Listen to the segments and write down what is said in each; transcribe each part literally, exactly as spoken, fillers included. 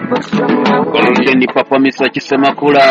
Golden Papa Mister Kisemakula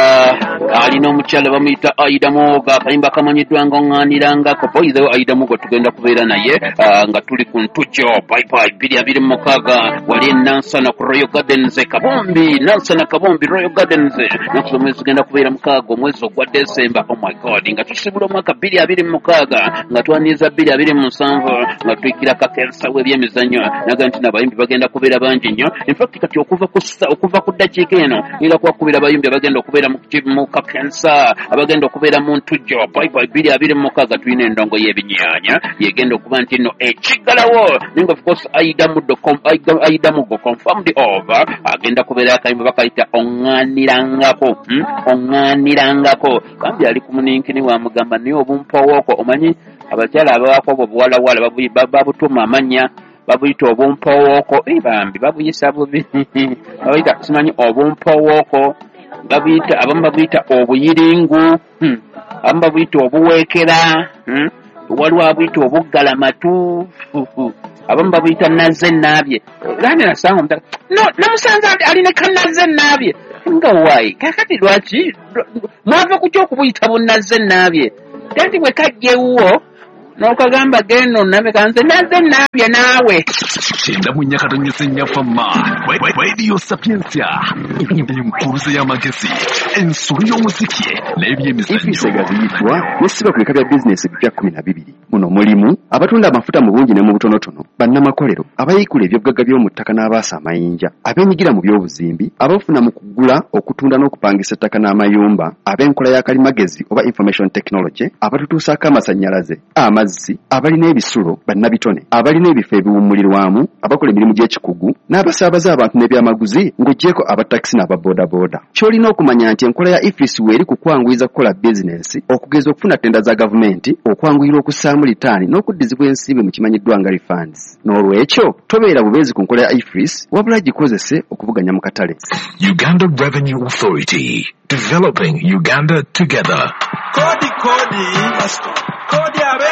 alina omukyala bamuyita Aida Mugo, akayimba kamanyiddwa nga oŋŋaanirangako. Boyizewo Aida Mugo tugenda kubeera naye ah, nga tuli ku Ntujjo bye bye bbiri abiri mu mukaaga wali e Nansana ku Royal Gardens e Kabumbi, Nansana Kabumbi Royal Gardens. Naku z'omwezi zigenda kubeera mukaaga omwezi ogwa Desemba. Oh my God, nga tusibula omwaka bbiri abiri mu mukaaga nga twaniriza bbiri abiri mu nsanvu nga tuyikira kakensa w'ebyemizannyo naga nti n'abayimbi bagenda kubeera bangi nnyo. In fact kati okuva ku ssa- okuva ku ddakiika eno ngenda kubakubira abayimbi abagenda okubeera mu ki- mu kakensa, abagenda okubeera mu Ntujjo bye bye bbiri abiri mu mukaaga. Tulina endongo y'ebinyaanya yegenda okuba nti nno ekiggalawo, naye nga of course Aida Mudo com- Aida- Aida Mugo confirmed over agenda kubeera akayimba bakayita oŋŋaanirangako, hmm? Oŋŋaanirangako bambi ali ku muninkini wamugamba naye obumpowooko omanyi abakyala abawaako obwo buwalawala babu- ba- babutuuma amannya, babuyita obumpowooko. Eh, bambi babuyisa bubi, babuyita simanyi obumpowooko, babuyita abamu babuyita obuyiringu, hmm. abamu babuyita obuweekera, hmm. waliwo abuyita obuggalamatu, abamu babuyita nazze naabye. Lani nasanga omutaka no namusanze ali- alina kanazze naabye nga waayi. Kakati lwaki mwava ku kyokubuyita bunazze naabye? Kati bwe kajja ewuwo n'okagamba genda onnabe kanze nazze naabye naawe. Kyenda mu nnya katonyeze nnya fama Radio Sapientia, enkuluze y'amagezi, ensolo y'omuziki n'ebyemizannyo. E F I S egaziyiddwa n'essibwa ku bika bya bizinesi ebipya kkumi na bibiri. Muno mulimu abatunda amafuta mu bungi ne mu butonotono, bannamakolero, abayiikula ebyobugagga by'omu ttaka n'abaasa amayinja, abeenyigira mu by'obuzimbi, abafuna mu kugula, okutunda n'okupangisa ettaka n'amayumba, ab'enkola ya kalimagezi oba information technology, abatutuusaako amasannyalaze, amazzi, abalina ebisulo, bannabitone, abalina ebifo ebiwummulirwamu, abakola emirimu gy'ekikugu n'abasaabaza abantu n'ebyamaguzi, ng'oggyeko abatakisi n'ababoodabooda. Ky'olina okumanya nti enkola ya E F I S weeri ku kwanguyiza kukola bizinensi, okugeza okufuna ttenda za gavumenti, okwanguyira okussaamu litaani n'okuddizibwa ensimbi mu kimanyiddwa nga refunds. N'olwekyo tobeera bubeezi ku nkola ya E F I S, wabula gikozese okuvuganya mu katale. Uganda Revenue Authority, developing Uganda together. Kodi kodi kodi abe.